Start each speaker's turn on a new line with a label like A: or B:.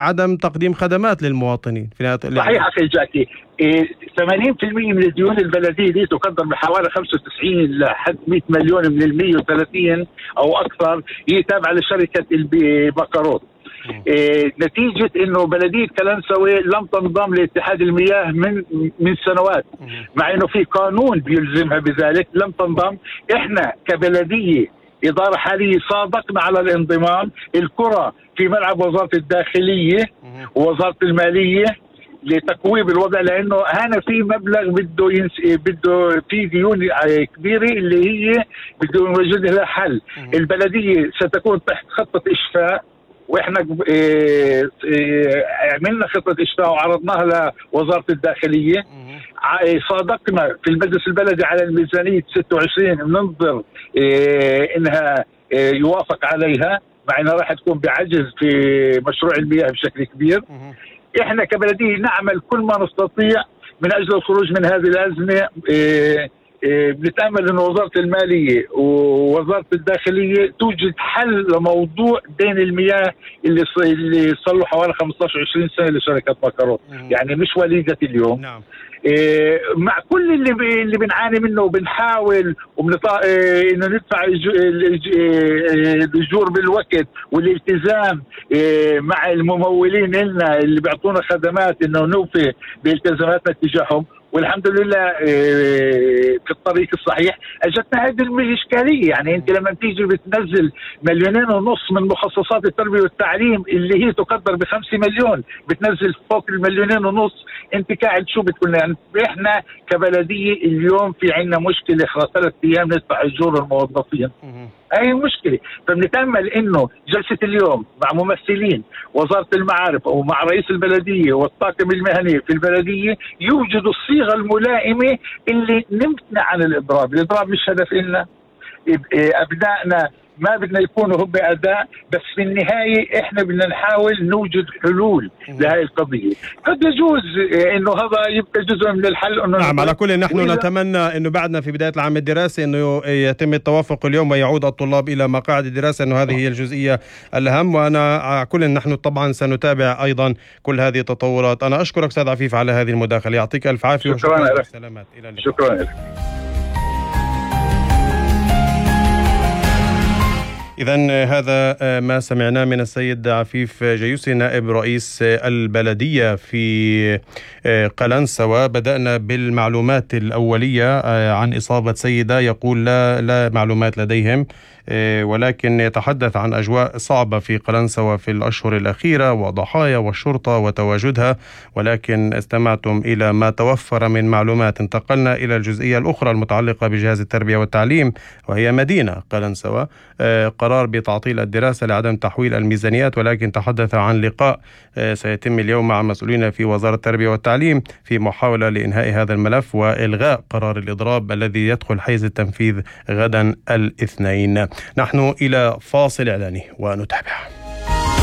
A: عدم تقديم خدمات للمواطنين في نهاية
B: صحيح أخي جاكي. 80% من الديون البلدية دي تقدر بحوالي 95 لحد 100 مليون من 130 أو أكثر، هي تابعة لشركة بكروت. نتيجة انه بلدية كلنسوي لم تنضم لاتحاد المياه من سنوات، مع انه في قانون بيلزمها بذلك، لم تنضم. احنا كبلدية إدارة حالية صادقنا على الانضمام. الكرة في ملعب وزارة الداخلية ووزارة المالية لتقويم الوضع، لانه هنا في مبلغ بده في ديون كبيرة اللي هي بده يوجد لها حل. البلدية ستكون تحت خطة إشفاء، واحنا عملنا خطة إشفاء وعرضناها لوزارة الداخلية. صادقنا في المجلس البلدي على الميزانية 26 ننظر انها يوافق عليها، مع انها راح تكون بعجز في مشروع المياه بشكل كبير. احنا كبلدية نعمل كل ما نستطيع من اجل الخروج من هذه الازمة. بنتأمل أن وزارة المالية ووزارة الداخلية توجد حل لموضوع دين المياه اللي صار له حوالي 15-20 سنة لشركة بكروت، يعني مش وليدة اليوم.
A: نعم.
B: مع كل اللي بنعاني منه، وبنحاول انه ندفع الاجور بالوقت والالتزام مع الممولين لنا اللي بيعطونا خدمات انه نوفي بالتزاماتنا تجاههم، والحمد لله في الطريق الصحيح. اجتنا هذه الاشكاليه، يعني انت لما تيجي بتنزل 2.5 مليون من مخصصات التربيه والتعليم اللي هي تقدر ب5 مليون، بتنزل فوق 1.5 مليون، انت قاعد شو بتقول؟ يعني احنا كبلديه اليوم في عندنا مشكله، خلال 3 ايام ندفع اجور الموظفين. هاي المشكله. فبنتامل انه جلسه اليوم مع ممثلين وزاره المعارف ومع رئيس البلديه والطاقم المهني في البلديه يوجدوا الصيغه الملائمه اللي نمتنع عن الاضراب. الاضراب مش هدف لنا، ابنائنا ما بدنا يكونوا هم أداء، بس في النهاية إحنا بدنا نحاول نوجد حلول لهذه القضية. قد يجوز إنه هذا يبقى جزء من الحل. إنه
A: نعم، على كل نحن نتمنى إنه بعدنا في بداية العام الدراسي إنه يتم التوافق اليوم ويعود الطلاب إلى مقاعد الدراسة، إنه هذه هي الجزئية الأهم. وأنا على كل نحن طبعا سنتابع أيضا كل هذه التطورات. أنا أشكرك أستاذ عفيف على هذه المداخلة، يعطيك ألف عافية.
B: شكرا لك.
A: سلامات، إلى اللقاء.
B: شكرا لك.
A: إذن هذا ما سمعناه من السيد عفيف جيوسي نائب رئيس البلدية في قلنسوة. بدأنا بالمعلومات الأولية عن إصابة سيدة، يقول لا معلومات لديهم، ولكن يتحدث عن أجواء صعبة في قلنسوة في الأشهر الأخيرة وضحايا والشرطة وتواجدها، ولكن استمعتم إلى ما توفر من معلومات. انتقلنا إلى الجزئية الأخرى المتعلقة بجهاز التربية والتعليم، وهي مدينة قلنسوة. قرار بتعطيل الدراسة لعدم تحويل الميزانيات، ولكن تحدث عن لقاء سيتم اليوم مع مسؤولين في وزارة التربية والتعليم في محاولة لإنهاء هذا الملف وإلغاء قرار الإضراب الذي يدخل حيز التنفيذ غدا الاثنين. نحن إلى فاصل إعلاني ونتابع.